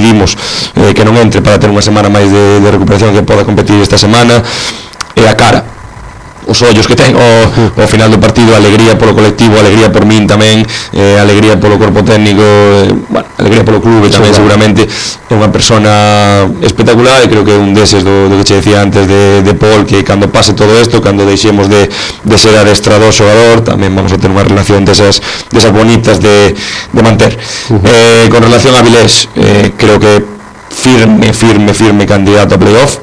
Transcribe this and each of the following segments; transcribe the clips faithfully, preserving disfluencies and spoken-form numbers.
decidimos eh, que non entre para ter unha semana máis de, de recuperación, que poda competir esta semana, e a cara, os ollos que ten ao final do partido, alegría polo colectivo, alegría por min tamén, eh, alegría polo corpo técnico, eh, bueno, alegría polo clube tamén, seguramente é unha persona espectacular, e creo que é un deses do, do que che decía antes de, de Paul, que cando pase todo isto, cando deixemos de, de ser adestrador xogador, tamén vamos a ter unha relación desas, desas bonitas de, de manter. Uh-huh. eh, con relación a Vilés, eh, creo que firme, firme, firme candidato a playoff.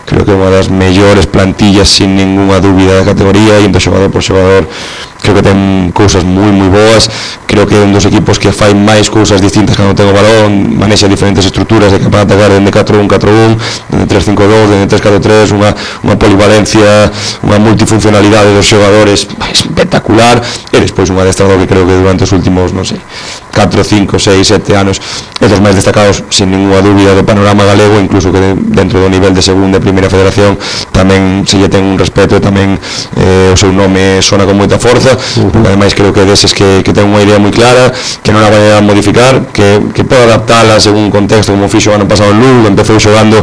Creo que é unha das mellores plantillas sin ninguna dúbida da categoría, e entre xogador por xogador creo que ten cousas moi moi boas. Creo que é un dos equipos que fai máis cousas distintas cando ten o balón, manexa diferentes estruturas de capaz de atacar dende catro un catro un, dende tres cinco dos, dende tres catro tres, unha, unha polivalencia, unha multifuncionalidade dos xogadores espectacular, e despois un adestrador que creo que durante os últimos, non sei, catro, cinco, seis, sete anos é dos máis destacados sin ninguna dúbida do panorama galego, incluso que dentro do nivel de segunda e primeira federación tamén se lle ten un respeto, e tamén eh, o seu nome sona con moita forza, uh-huh. porque ademais creo que deses que, que ten unha idea moi clara, que non a vai a modificar, que, que pode adaptala según contexto, como fixo o ano pasado en Lugo, empezou xogando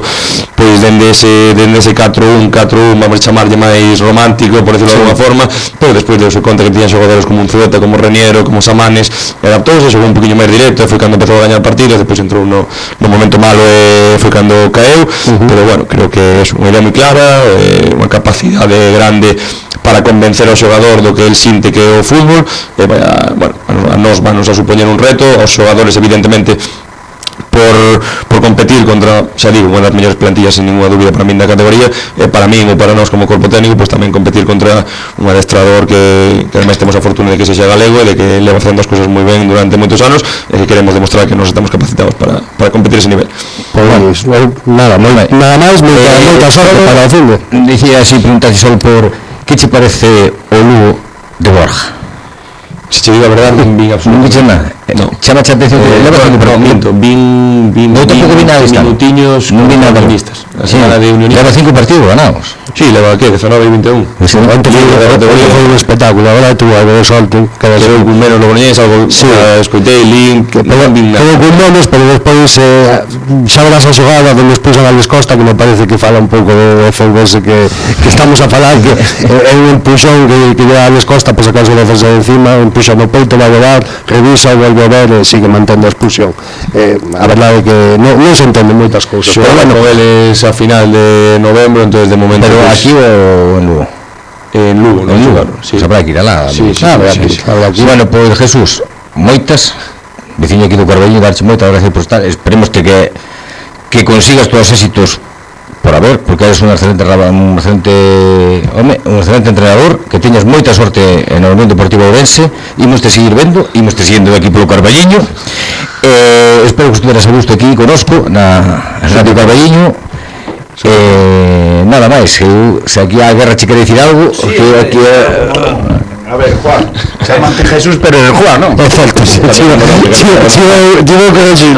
pois dende ese, dende ese catro un catro un, vamos a chamarlle máis romántico, por decirlo sí. de alguna forma, pero despois deu-se conta que tiñan xogadores como un Zueta, como Reniero, como Samanes, e adaptouse, xogou un poquinho máis directo, e foi cando empezou a gañar partidos, despois entrou no, no momento malo e foi cando caeu, uh-huh. pero bueno, creo que é unha idea moi clara, eh, unha capacidade grande para convencer ao xogador do que el sinte que é o fútbol, e vaya, bueno, a nos vanos a supoñer un reto, aos xogadores evidentemente por, por competir contra, xa digo, unha das mellores plantillas sin ninguna dúbida para min da categoría, e para min ou para nós como corpo técnico, pois tamén competir contra un adestrador que, que ademais temos a fortuna de que sexa galego e de que leva facendo as cousas moi ben durante moitos anos, e que queremos demostrar que nos estamos capacitados para, para competir ese nivel. Pois, bueno, nada, moi, nada máis, moita, eh, moita sorte para o fútbol. Dicía así, preguntase só por que che parece o Lugo de Borja? Se che digo a verdade, non vin absolutamente nada. No. Chama a atención que leva no, no, minto, vin vin no tampouco vi nada de minutiños, non vi nada de listas. Sí, leva cinco partidos ganados. Sí, leva que diecinueve e vinte e un. Sí, antes foi un espectáculo, agora tú algo de solte, cada vez un menos lo poñéis algo, sí, escoitei link, que non vin nada. Todo con menos, pero despois eh, xa verás a xogada donde expuxan a Alex Costa, que me parece que fala un pouco de F B S que, que estamos a falar, que é un empuxón que, que lleva a Alex Costa para sacarse a defensa de encima, empuxa no peito, vai a dar, revisa, volve a ver e sigue mantendo a expulsión. Eh, a verdade é que non, non se entende moitas cousas. Pero bueno, con eles a final de novembro, entonces de momento... Pero aquí ou en Lugo? En Lugo, non xogaron. Sí. Sabrá que ir alá. Sí, sí, ah, sí, sí, sí. sí. Bueno, pois pues, Jesús, moitas, veciño aquí do Carballiño, darche moitas gracias por estar. Esperemos que que consigas todos os éxitos por haber, porque eres un excelente un excelente, home, un excelente entrenador, que teñas moita sorte en o Unión Deportivo Ourense, imos te seguir vendo, imos te seguindo aquí polo Carballiño. Eh, espero que estuveras a gusto aquí conosco na Radio Carballiño. Eh, nada máis, eu, se aquí a guerra che quere dicir algo, sí, que aquí é... A ver, Juan, chamante Jesús, pero é Juan, non? É certo, digo que decir.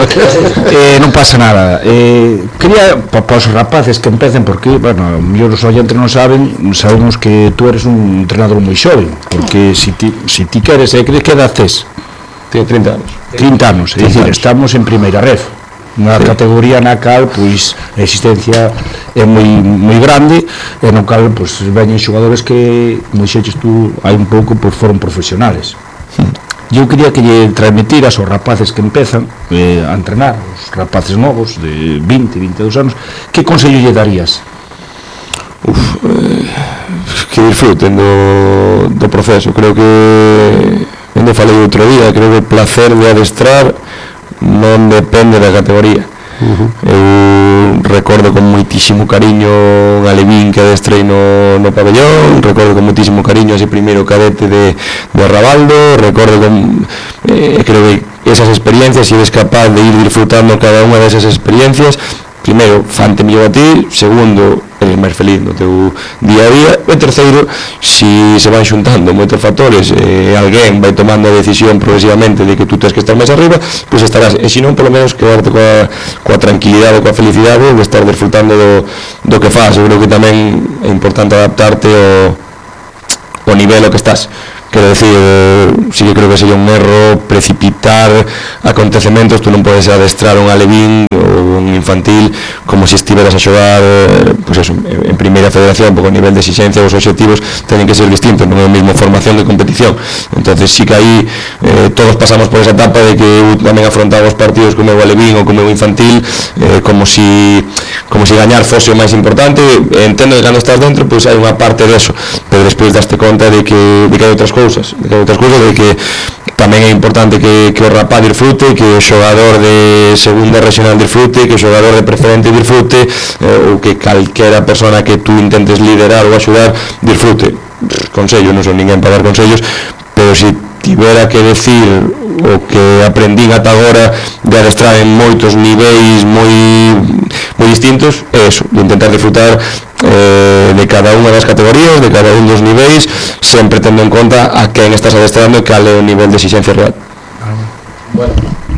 Non pasa nada. Eh, quería, para os rapaces que empecen, porque, bueno, mellor os oyentes non saben, sabemos que tú eres un entrenador moi xoven, porque si ti, si ti queres, eh, crees que edad tes? Tiene trinta anos. trinta anos, é dicir, estamos en primeira ref. Unha sí. categoría na cal pois a existencia é moi moi grande e no cal pois veñen xogadores que moi xeches tú hai un pouco pois foron profesionales. Eu quería que lle transmitiras aos rapaces que empezan eh, a entrenar, os rapaces novos de vinte, vinte e dous anos, que consello lle darías? Uf, eh, que disfruten do, do proceso. Creo que onde falei outro día, creo que o placer de adestrar non depende da categoría. Uh-huh. Eu recordo con moitísimo cariño un alevín que adestrei no, no pabellón, recordo con moitísimo cariño ese primeiro cadete de, de Rabaldo, recordo con eh, creo que esas experiencias, si eres capaz de ir disfrutando cada unha desas experiencias, primeiro, fante mellor a ti, segundo, eres máis feliz no teu día a día, e terceiro, si se van xuntando moitos factores e eh, alguén vai tomando a decisión progresivamente de que tú tens que estar máis arriba, pois estarás, e se non, polo menos, quedarte coa, coa tranquilidade, coa felicidade de estar disfrutando do, do que faz. Eu creo que tamén é importante adaptarte ao, ao nivel ao que estás. Quero decir, si que creo que sería un erro precipitar acontecementos. Tú non podes adestrar un alevín ou un infantil, como se estiveras a xogar pues eso, en primeira federación, porque o nivel de exigencia e os objetivos teñen que ser distintos, non é o mesmo formación que competición. Entonces sí que aí eh, todos pasamos por esa etapa de que eu tamén afrontaba os partidos como o alevín ou como o infantil eh, como si como si gañar fose o máis importante. Entendo que cando estás dentro pois hai unha parte deso, pero despois daste conta de que, de que hai outras cousas de que hai outras cousas, de que tamén é importante que, que o rapaz disfrute, que o xogador de segunda regional disfrute, que o xogador de preferente disfrute, eh, ou que calquera persona que tú intentes liderar ou axudar disfrute. Consello, non son ninguén para dar consellos, pero se tivera que decir o que aprendín ata agora de adestrar en moitos niveis moi moi distintos, é eso, de intentar disfrutar eh, de cada unha das categorías, de cada un dos niveis, sempre tendo en conta a quen estás adestrando e cal é o nivel de exigencia real. Bueno,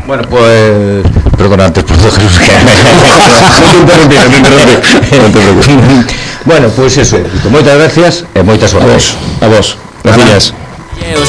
bueno, pues perdona antes por todo Jesús que non te interrumpí, non te interrumpí. Non te preocupes. Bueno, pois pues eso, moitas gracias e moitas horas. A vos, a vos. Gracias.